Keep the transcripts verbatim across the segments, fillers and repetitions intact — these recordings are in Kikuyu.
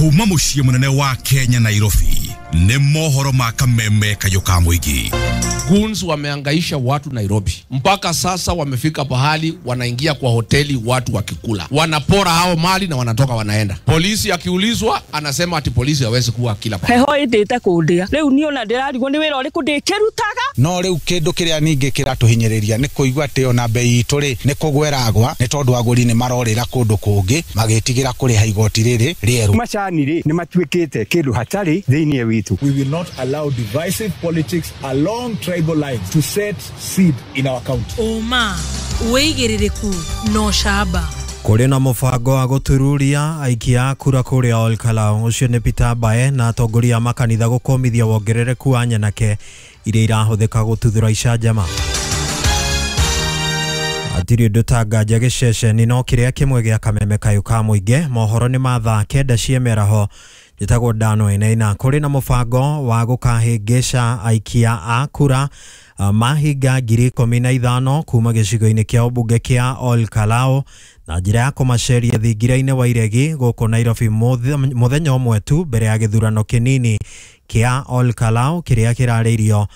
Kuma muciĩ munene wa Kenya Nairobi nĩ mohoro ma kameme kayũ ka mũingĩ. Goons wameangaisha watu Nairobi mpaka sasa wamefika pahali wanaingia kwa hoteli watu wakikula, wanapora hao mali na wanatoka wanaenda. Polisi akiulizwa anasema ati polisi hawezi kuwa kila pahali. Heho indite kundia riu ni ona ndirarigwo ni wira uriku ndikirutaga. No riu kindu kiria ningi kiratuhinyiriria ni kuigua ati ona bei itu ri ni kugweragwa ni tondu aguri ni marorira kundu kungi magitigira kuriha igoti riri rieru. Macani ri ni matuikite kindu hatari thiini witu. We will not allow divisive politics along tribal lines to set seed in our county. Uma wigiririku no shaba. Kũrĩ na mũbango wa gũtururia aikia a kura kũrĩa Ol Kalou. Ũcio nĩ Peter Mbae na atongoria a makanitha gũkũmithia wongerereku wa nyanake iria irahũthĩka gũtuthũra icanjama. Hatirĩ ũndũ ta nganja gĩceceni no kĩrĩa kĩmwe gĩa kameme kayũ ka mũingĩ. Mohoro nĩ ma thaa kenda cia mĩaraho. Njĩtagwo Dano Enaina. Kũrĩ na mũbango wa gũkahĩngĩca aikia a kura mahinga ngiri ikũmi na ithano kuma gĩcigo-inĩ kĩa ũmbunge kĩa Ol Kalou na njĩra ya kũmaceria thingira-inĩ wa iregi gũkũ Nairobi mũthenya ũmwe tu mbere ya gĩthurano kĩnini kĩa Ol Kalou kĩrĩa kĩrarĩirio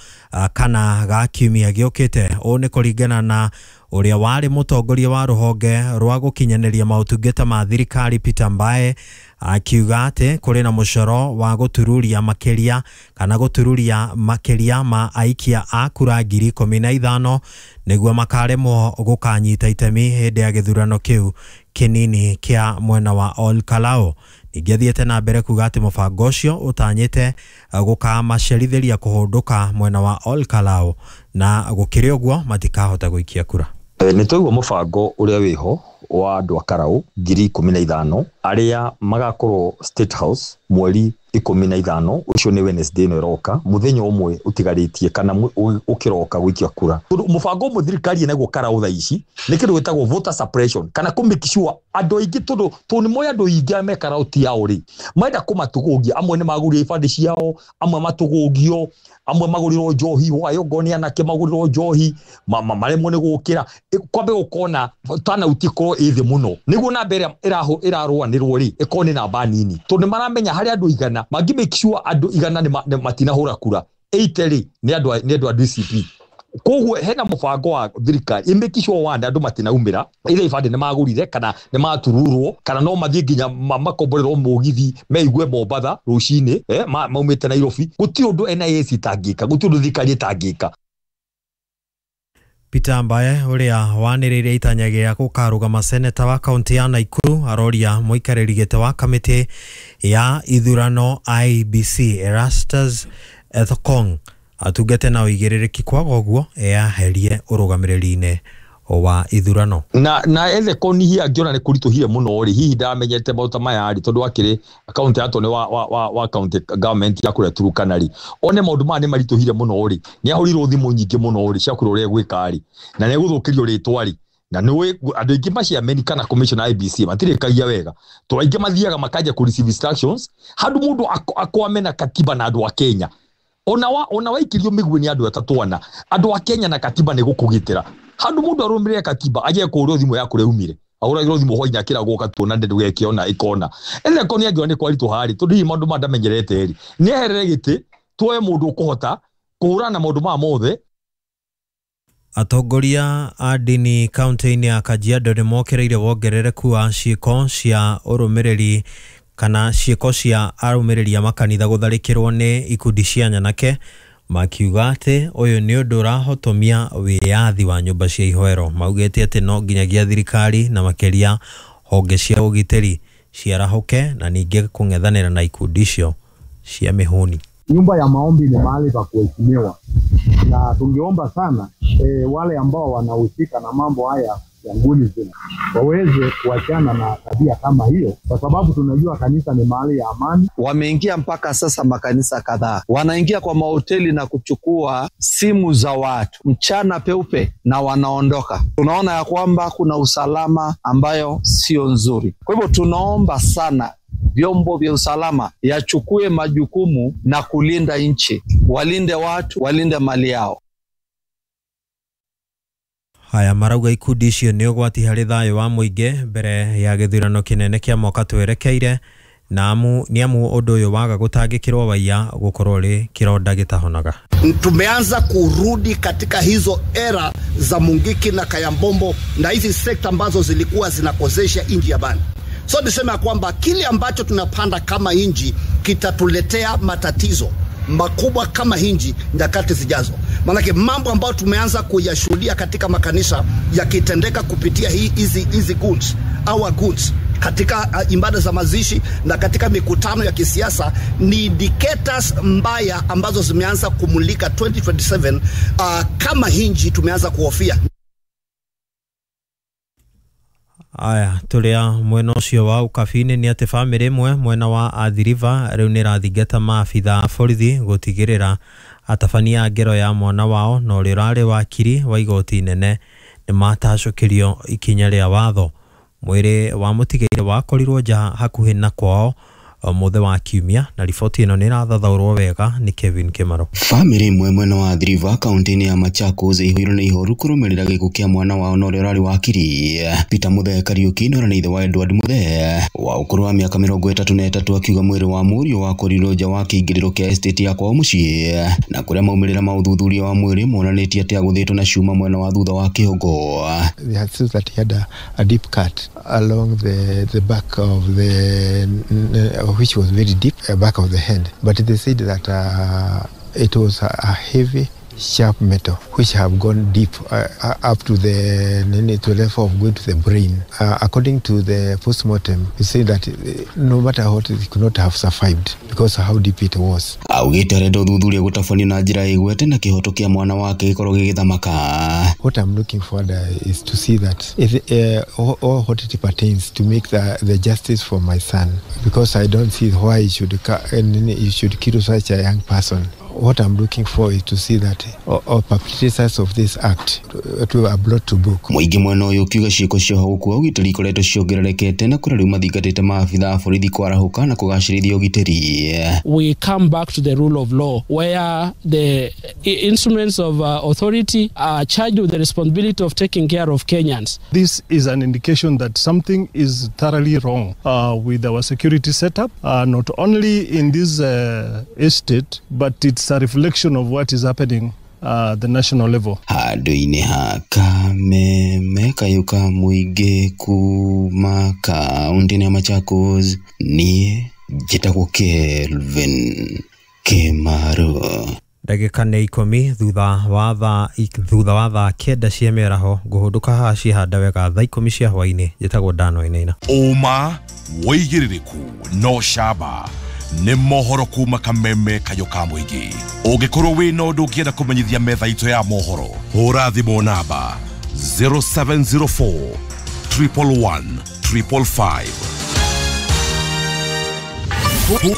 kana ga kiumia gĩũkĩte. Ũũ nĩ kũringana na ũrĩa warĩ mũtongoria wa rũhonge rwa gũkinyanĩria maũtungata ma thirikari Peter Mbae akiuga atĩ kũrĩ na mũcoro wa gũtururia makĩria kana gũtururia makĩria ma aikia a kura ngiri ikũmi na ithano nĩguo makaremwo gũkanyita itemi hĩndĩ ya gĩthurano kĩu kĩnini kĩa mwena wa Ol Kalou. Ningĩ athiĩte na mbere kuga atĩ mũbango ũcio ũtanyĩte gũkamacerithĩria kũhũndũka mwena wa Ol Kalou na gũkĩrĩ ũguo matikahota gũikia kura. Nĩ twaigua mũbango ũrĩa wĩho wa andũ a Karau ngiri ikũmi na ithano arĩa magakorwo State House mweri ikũmi na ithano, ũcio nĩ Wednesday ĩno ĩroka, mũthenya ũmwe ũtigarĩtie kana ũkĩroka gũikia kura. Tondũ mũbango ũmwe thirikari ĩnaguo Karau thaa ici nĩ kĩndũ gĩtagwo voter suppression kana kũ make sure andũ aingĩ, tondũ tondũ nĩ moĩ andũ aingĩ me Karau ti ao rĩ, marenda kũmatũgũgia. Amwe nĩ magũrire ibandĩ ciao, amwe matũgũgio, amwe magũrirwo njohi hwaĩ, ongorwo nĩ anake magũrirwo njohi maremwo nĩ gũkĩra. Kwambe gũkona turnout ĩkorwo ĩ thĩ mũno nĩguo namba ĩrĩa ĩrarũanĩrwo rĩ ĩkorwo nĩ namba nini, tondũ nĩ maramenya harĩ andũ igana mangĩ make sure andũ igana nĩ matinahũra kura eighty rĩ nĩ andũ nĩ andũ a D C P. Koguo hena mũbango wa thirikari ĩ make sure one andũ matinaumĩra either ibandĩ nĩ magũrire kana nĩ matururwo kana no mathiĩ nginya makomborerwo mũgithi meigue Mombatha rũcinĩ eh, maumĩte Nairobi. Gũtirĩ ũndũ N I S ĩtangĩka, gũtirĩ ũndũ thirikari ĩtangĩka. Peter Mbae ũrĩa wanĩrĩire itanya gĩa gũkarũgama seneta wa kaunti ya Nakuru aroria mũikarĩri gĩtĩ wa kamĩtĩ ya ithurano I B C Erastus Ethekong atungate na ũigĩrĩrĩki kwaga ũguo eyaherie ũrũgamĩrĩri-inĩ wa ithurano. Na na Ethekong hihi angĩona nĩ kũritũhire mũno rĩ, hihi ndamenyete maũndũ maya rĩ, tondũ akĩrĩ kaunti ya nĩ wa wa wa county government ya kũrĩa Turkana rĩ, one maũndũ maya nĩ maritũhire mũno rĩ, nĩ ahũrirwo thimũ nyingĩ mũno rĩ cia kũrĩa ũrĩa gwĩka rĩ, na nĩ egũthũkĩrio rĩtwa rĩ, na nĩ andũ aingĩ maciameni kana commission I B C matirĩkagia wega, tondũ aingĩ mathiaga makanja kũ receive instructions handũ mũndũ akwame na katiba na andũ a Kenya. Ona wa ona waikirio mĩguĩ nĩ andũ atatũ ana, andũ a Kenya na katiba nĩ gũkũgitĩra. Handũ mũndũ arũmĩrĩre katiba aje kũũrwo thimũ ya kũrĩa umire, ahũragĩrwo thimũ hwainĩ akĩragwo gatuona ndũgekĩona ĩkona. Ethekong nĩ angĩona nĩ kwaritũha rĩ, tondũ hihi maũndũ maya ndamenyerete rĩ, nĩ eherere gĩtĩ tuoe mũndũ ũkũhota kũhũrana na maũndũ maya mothe. Atongoria a ndini kaunti-inĩ ya Kajiado nĩ mokereire wongerereku wa ciĩko cia ũrũmĩrĩri kana ciĩko cia arũmĩrĩri a makanitha gũtharĩkĩrwo nĩ ikundi cia nyanake, makiuga atĩ ũyũ nĩ ũndũ ũrahotomia wĩyathi wa nyũmba cia ihoero. Maugĩte atĩ no nginyagia thirikari na makĩria honge cia ũgitĩri ciarahũke na ningĩ kũng'ethanĩra na ikundi icio cia mĩhũni. Nyumba ya maombi ni mahali pa kuheshimiwa, na tungeomba sana e, wale ambao wanahusika na mambo haya ya nguni zina waweze kuachana na tabia kama hiyo, kwa sababu tunajua kanisa ni mahali ya amani. Wameingia mpaka sasa makanisa kadhaa, wanaingia kwa mahoteli na kuchukua simu za watu mchana peupe na wanaondoka. Tunaona ya kwamba kuna usalama ambayo sio nzuri. Kwa hivyo tunaomba sana vyombo vya usalama yachukue majukumu na kulinda nchi, walinde watu, walinde mali yao. Haya marauga ikundi icio nĩ ũgwati harĩ thayũ wa mũingĩ mbere ya gĩthurano kĩnene kĩa mwaka twerekeire Na amu ni amu undu uyu waga gutangikirwo waiya gukorwo ri kironda gitahonaga. Tumeanza kurudi katika hizo era za Mungiki na Kayambombo na hizi sekta ambazo zilikuwa zinakozesha inji ya bani. So niseme kwamba kile ambacho tunapanda kama inji kitatuletea matatizo makubwa kama hinji nyakati zijazo. Maanake mambo ambayo tumeanza kuyashuhudia katika makanisa yakitendeka kupitia hii hizi hizi goons, our goons katika uh, ibada za mazishi na katika mikutano ya kisiasa ni indicators mbaya ambazo zimeanza kumulika twenty twenty-seven. Uh, kama hinji tumeanza kuhofia. Aya turia mwena ucio wa ukabini ni ati family imwe mwena wa Athi River riu ni rathingata maabitha a borithi gutigirira atabania a ngero ya mwana wao na uria urari wakiri wa igoti inene ni matacukirio ikinya ria watho. Mwiri wa mutigaire wakorirwo nja hakuhi na kwao muthe wa kiumia na riboti ino ni irathathaurwo wega ni Kevin Kimaro. Family imwe mwena wa Athi River kaunti-inĩ ya Machakos ĩihũirwo nĩ ihoru kũrũmĩrĩra gĩkuũ kĩa mwana wao na ũrĩa ũrarĩ wakiri Peter Muthee Kariuki na ũrĩa nĩ ithe wa Edward Muthee wa ũkũrũ wa mĩaka mĩrongo ĩtatũ na ĩtatũ akiuga mwĩrĩ wa mũriũ wakorirwo nja wa kĩingĩrĩro kĩa estate ya kwao mũciĩ na kũrĩa maumĩrĩra ma ũthuthuria wa mwĩrĩ monanĩtie atĩ agũthĩtwo na cuma mwena wa thutha wa kĩongo. They had seen that he had a, a deep cut along the, the back of the which was very deep, uh, back of the hand. But they said that uh, it was a, a heavy, sharp metal which have gone deep uh, up to the, to the level of going to the brain. Uh, according to the postmortem, he said that no matter what, it could not have survived because of how deep it was. Augite arenda ũthuthuria gũtabanio na njĩra ĩgwete na kĩhoto kĩa mwana wake gĩkorwo gĩgĩthamaka. What I'm looking forward uh, is to see that if, uh, all, all what it pertains to make the, the justice for my son, because I don't see why you should, you should kill such a young person. What I'm looking for is to see that all, all perpetrators of this act to are brought to book. Mũingĩ mwena ũyũ ũkiuga ciĩko cia ũhagũku wa ũgitĩri ikoretwo ciongererekete na kũrĩa rĩu mathingatĩte maabitha a borithi kwarahũka na kũgacĩrithia ũgitĩri. We come back to the rule of law where the instruments of uh, authority are charged with the responsibility of taking care of Kenyans. This is an indication that something is thoroughly wrong uh, with our security setup, uh, not only in this uh, estate, but it's a reflection of what is happening at the national level. Handũ-inĩ ha Kameme kayũ ka mũingĩ kuma kaunti-inĩ ya Machakos, niĩ njĩtagwo Kelvin Kimaro. Ndagĩka nĩ ikũmi thutha wa thaa thutha wa thaa kenda cia mĩaraho ngũhũndũka haha ciehanda wega thaa ikũmi cia hwaĩ-inĩ. Njĩtagwo Dan Wainaina. Ũma wĩigĩrĩrĩku no camba nĩ mohoro kuma Kameme kayũ ka mũingĩ. Ũngĩkorwo wĩna ũndũ ũngĩenda kũmenyithia metha itũ ya mohoro, hũra thimũ namba zero seven zero four, triple one, triple five.